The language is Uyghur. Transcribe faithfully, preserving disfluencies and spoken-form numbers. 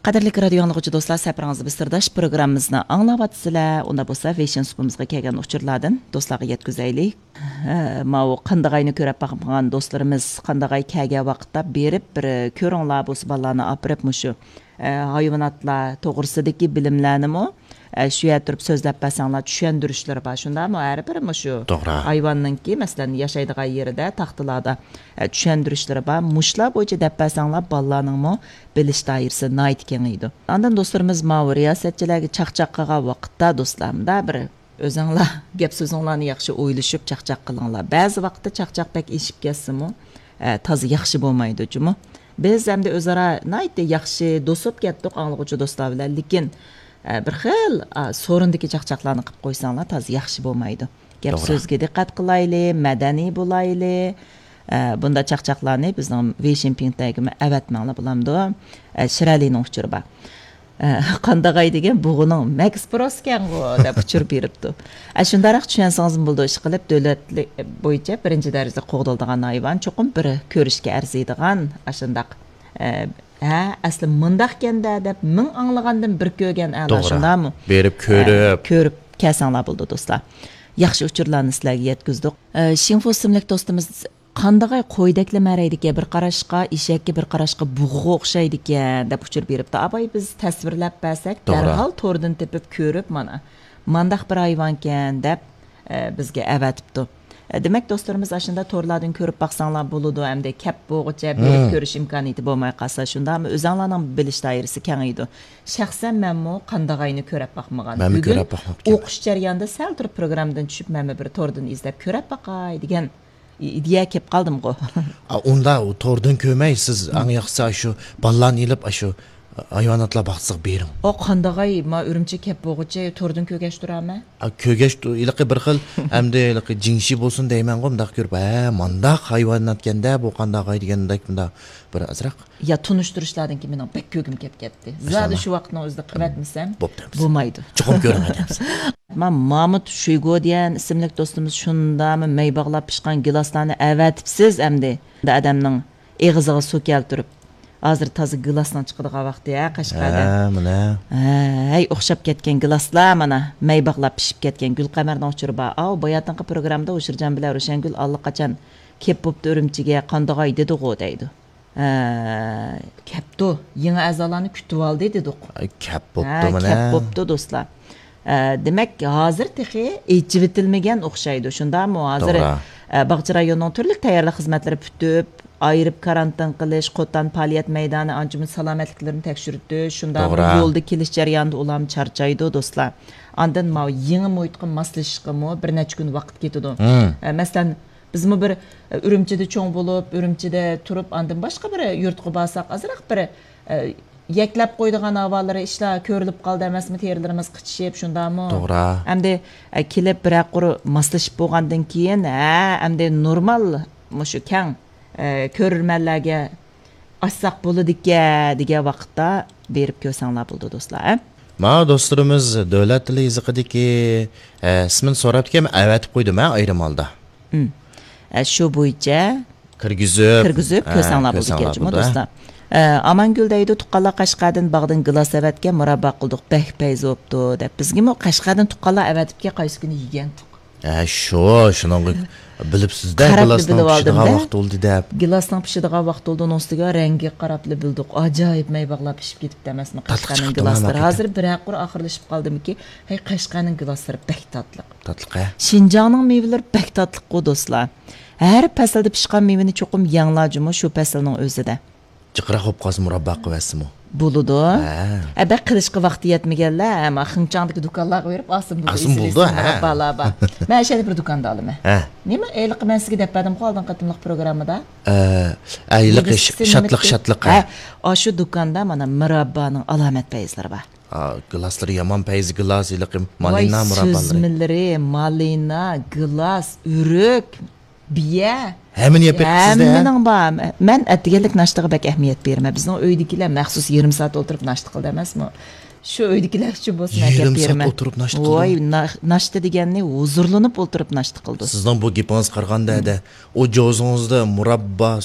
قەدىرلىك رادىيو ئاڭلىغۇچى دوستلار، سەپىرىڭىزدە بىز سىرداش پروگراممىمىزنى ئاڭلاۋاتىسىلەر. ئۇندا بولسا ۋېيشىن سۇپىمىزغا كەلگەن ئۇچۇرلاردىن دوستلارغا يەتكۈزەيلى. ھە، ماۋۇ قاندىغاينى كۆرۈپ باقمىغان دوستلىرىمىز قاندىغاي كەلگەن ۋاقىتتا بېرىپ بىر كۆرۈڭلار، بولسا بالىلارنى ئاپىرىپ مۇشۇ، ئە، ھايۋاناتلار توغرىسىدىكى بىلىملەرنىمۇ، ئە، شۇ يەردە تۇرۇپ سۆزلەپ بەرسەڭلار، چۈشەندۈرۈشلىرى بار. شۇنداقمۇ؟ ھەر بىر مۇشۇ توغرا. ھايۋاننىڭكى، مەسىلەن، ياشايدىغان يېرىدە تاختىلاردا، ئە، چۈشەندۈرۈشلىرى بار. مۇشۇلار بويىچە دەپ بەرسەڭلار، بالىلارنىڭمۇ بىلىش دائىرىسى ناھايىتى كېڭىيىدۇ. ئاندىن دوستلىرىمىز ماۋۇ رىياسەتچىلەرگە چاقچاق قىلغان ۋاقىتتا، دوستلار، مۇنداق بىر ئۆزۈڭلار گەپ سۆزۈڭلارنى ياخشى ئويلىشىپ چاقچاق قىلىڭلار. بەزى ۋاقىتتا چاقچاق بەك ئېشىپ كەتسىمۇ، ئە، تازا ياخشى بولمايدۇ جۇمۇ. بىز ئەمدى ئۆزئارا ناھايىتى ياخشى دوست بولۇپ كەتتۇق ئاڭلىغۇچى دوستلار بىلەن، لېكىن، ئە، بىر خىل، ئا، سورۇندىكى چاقچاقلارنى قىلىپ قويساڭلار تازا ياخشى بولمايدۇ. گەپ توغرا. سۆزگە دىققەت قىلايلى، مەدەنىي بولايلى. ئە، بۇنداق چاقچاقلارنى بىزنىڭ ۋېيشىن پىڭتەيگىمۇ ئەۋەتمەڭلار بولامدۇ؟ ئە، شىرەلىنىڭ ئۇچۇرى بار. ئە، قانداغاي دېگەن بۇغىنىڭ مەكس پروسكەنغۇ دەپ ئۇچۇر بېرىپتۇ. ئە، شۇنداقراق چۈشەنسىڭىزمۇ بولىدۇ، ئىشقىلىپ دۆلەت بويىچە بىرىنچى دەرىجىدە قوغدىلىدىغان ھايۋان، چوقۇم بىر كۆرۈشكە ئەرزىيدىغان ئاشۇنداق، ئە، ھە، ئەسلى مۇنداقكەن-دە دەپ مىڭ ئاڭلىغاندىن بىر كۆرگەن ئەلا، توغرا. شۇنداقمۇ؟ بېرىپ ئە، كۆرۈپ. كۆرۈپ كەلسەڭلار بولىدۇ، دوستلار. ياخشى ئۇچۇرلارنى سىلەرگە يەتكۈزدۇق. ئە، شىڭفۇ ئىسىملىك دوستىمىز، قاندىغاي قويدەكلا مەرەيدىكەن، بىر قاراشقا ئېشەككە، بىر قاراشقا بۇغىغا ئوخشايدىكەن، دەپ ئۇچۇر بېرىپتۇ. ئاپاي، بىز تەسۋىرلەپ بەرسەك، توغرا. دەرھال توردىن تېپىپ كۆرۈپ، مانا، مانداق بىر ھايۋانكەن، دەپ، ئە، بىزگە ئەۋەتىپتۇ. ئە، دېمەك، دوستلىرىمىز ئاشۇنداق تورلاردىن كۆرۈپ باقساڭلار بولىدۇ، ئەمدى كەپ بولغۇچە بېرىپ مم. كۆرۈش ئىمكانىيىتى بولماي قالسا، شۇنداقمۇ؟ ئۆزەڭلارنىڭ بىلىش دائىرىسى كېڭىيىدۇ. شەخسەن مەنمۇ قانداغاينى كۆرۈپ باقمىغان. مەنمۇ بۈگۈن كۆرۈپ باقماپتىكەن. ئوقۇش جەريانىدا سەل تۇرۇپ پروگراممىدىن چۈشۈپ، مەنمۇ بىر توردىن ئىزدەپ كۆرۈپ باقاي دېگەن ئىدىيە كېلىپ قالدىمغۇ. ئا، ئۇندا ئۇ توردىن كۆرمەي، سىز ئەڭ ياخشىسى ئاشۇ بالىلارنى ئېلىپ، ئاشۇ ھايۋاناتلار باغچىسىغا بېرىڭ. ئا، قانداغاي، ما ئۈرۈمچى كەپ بولغۇچە توردىن كۆرگەچ تۇرامەن. ئا، كۆرگەچ تۇ-، ھېلىقى بىر خىل، ئەمدى ھېلىقى جىڭشى بولسۇن دەيمەنغۇ، مۇنداق كۆرۈپ، ھە، مانداق ھايۋاناتكەندە بۇ قانداغاي دېگەندەك، مۇنداق بىر ئازراق. يا، تونۇشتۇرۇشلاردىن كېيىن مېنىڭ بەك كۆرگۈم كېلىپ كەتتى. زادى ماشائاللا. شۇ ۋاقىتنىڭ ئۆزىدە قىلىۋەتمىسەم بوپتۇ، بوپتۇ. بولمايدۇ. چوقۇم كۆرۈڭ، ئادەم. ما-، مامۇت شۇيگو دېگەن ئىسىملىك دوستىمىز شۇنداقمۇ مەي باغلاپ پىشقان گىلاسلارنى ئەۋەتىپسىز ئەمدى. ئادەمنىڭ ئېغىزىغا سۇ كەلتۈرۈپ. ھازىر تازا گىلاسنىڭ چىقىدىغان ۋاقتى، ھە، قەشقەردە. ھە، مانا. ھە، ھەي، ئوخشاپ كەتكەن گىلاسلار، مانا، مەي باغلاپ پىشىپ كەتكەن. گۈلقەمەرنىڭ ئۇچۇرى بار. ئاۋۇ باياتىنقى پروگراممىدا ھۇشۇرجان بىلەن روشەنگۈل ئاللىقاچان كېلىپ بوپتۇ ئۈرۈمچىگە، قاندىغاي دېدىغۇ دەيدۇ. ھە، كەپتۇ. يېڭى ئەزالارنى كۈتۈۋالدى دېدۇق. ئاي، كەپ بوپتۇ ھە، مانا. كەپ بوپتۇ، دوستلار. ئە، دېمەك، ھازىر تېخى ئېچىۋېتىلمىگەن ئوخشايدۇ، شۇنداقمۇ؟ ھازىر، توغرا. ئە، باغچە رايونىنىڭ تۈرلۈك تەييارلىق خىزمەتلىرى پۈتۈپ، ئايرىپ كارانتىن قىلىش، قوتان پائالىيەت مەيدانى، ئانچە-مۇنچە سالامەتلىكلىرىنى تەكشۈرتۈش، شۇنداقمۇ؟ توغرا. يولدا كېلىش جەريانىدا ئۇلارمۇ چارچايدۇ، دوستلار. ئاندىن ماۋۇ يېڭى مۇھىتقا ماسلىشىشقىمۇ بىر نەچچە كۈن ۋاقىت كېتىدۇ. ھىم. ئە، مەسىلەن، بىزمۇ بىر، ئە، ئۈرۈمچىدە چوڭ بولۇپ، ئۈرۈمچىدە تۇرۇپ، ئاندىن باشقا بىر يۇرتقا بارساق، ئازراق بىر، ئە، يەكلەپ قويىدىغان ئاۋالىرى ئىشلار كۆرۈلۈپ قالدى ئەمەسمۇ، تېرىلىرىمىز قىچىشىپ، شۇنداقمۇ؟ توغرا. ئەمدى، ئە، كېلىپ بىرەر قۇر ماسلىشىپ بولغاندىن كېيىن، ھە، ئەمدى نورمال مۇشۇ كەڭ، ئە، كۆرۈرمەنلەرگە ئاچساق بولىدىكەن دېگەن ۋاقىتتا بېرىپ كۆرسەڭلار بولىدۇ، دوستلار، ھە؟ ما دوستلىرىمىز دۆلەت تىلى يېزىقىدىكى، ئە، ئىسمىنى سوراپتىكەن، ئەۋەتىپ قويدۇم، ھە، ئايرىم ھالدا. ئە، شۇ بويىچە كىرگۈزۈپ، كىرگۈزۈپ ھە، كۆرسەڭلار بولىدىكەن جۇمۇ، ھە. دوستلار. ئە، ئامانگۈل دەيدۇ، تۇغقانلار قەشقەردىن باغدىن گىلاس ئەۋەتكەن، مۇراببا قىلدۇق، بەك پەيزى بوپتۇ، دەپ. بىزگىمۇ قەشقەردىن تۇغقانلار ئەۋەتىپكەن، قايسى كۈنى يېگەنتۇق. ھە، شۇ، شۇنىڭغا بىلىپسىز-دە، قاراپلا گىلاسنىڭ بىلىۋالدىم پىشىدىغان دە. ۋاقتى بولدى دەپ. گىلاسنىڭ پىشىدىغان ۋاقتى بولدى، ئۇنىڭ ئۈستىگە رەڭگىگە قاراپلا بىلدۇق. ئاجايىپ مەي باغلار پىشىپ كېتىپتۇ ئەمەسمۇ، تاتلىق قەشقەرنىڭ چىقىپتۇ، گىلاسلىرى. ھەقىقەتەن. ھازىر بىرەر قۇر ئاخىرلىشىپ قالدىمىكى؟ ھەي، قەشقەرنىڭ گىلاسلىرى بەك تاتلىق. تاتلىق، ھە؟ شىنجاڭنىڭ مېۋىلىرى بەك تاتلىققۇ، دوستلار. ھەر پەسىلدە پىشقان مېۋىنى چوقۇم يەڭلار جۇمۇ شۇ پەسىلنىڭ ئۆزىدە. جىقراق بولۇپ قالسا مۇراببا قىلىۋەتسىمۇ. بولىدۇ. ھە. ئە، بەك قىلىشقا ۋاقتى يەتمىگەنلەر، ئەمما خېڭچاڭدىكى دۇكانلارغا بېرىپ ئالسىمۇ بولىدۇ. ئالسىمۇ بولىدۇ، ھە. مۇراببالار بار. مەن ئەشەدە بىر دۇكاندا ئالىمەن. ھە. نېمە، ھېلىقى مەن سىزگە دەپ بەردىمغۇ ئالدىنقى قېتىملىق پروگراممىدا؟ ئە، ئە، ھېلىقى ھېلىقى شاتلىق، نېمە؟ شاتلىق، ھە. ھە. ئاشۇ دۇكاندا مانا مۇراببانىڭ ئالامەت پەيزلىرى بار. ئا، گىلاسلىرى يامان پەيزى گىلاس، ھېلىقى مالىنا ۋاي، مۇراببالىرى. سۈزمىلىرى، مالىنا، گىلاس، ئۆرۈك، بىيە. ھەممىنى يەپ بېرىپسىز-دە، ھە؟ ھەممىنىڭ بار. مەن ئەتىگەنلىك ناشتىغا بەك ئەھمىيەت بېرىمەن. بىزنىڭ ئۆيدىكىلەر مەخسۇس يېرىم سائەت ئولتۇرۇپ ناشتا قىلدى ئەمەسمۇ؟ شۇ ئۆيدىكىلەر ئۈچۈن بولسۇن ئەكەپ بېرىمەن. يېرىم سائەت ئولتۇرۇپ ناشتا قىلدى؟ ۋاي، نا-، ناشتا دېگەننى ھۇزۇرلىنىپ ئولتۇرۇپ ناشتا قىلدى. سىزنىڭ بۇ گېپىڭىزگە قارىغاندا، ھە، ئۇ جوزىڭىزدا مۇراببا،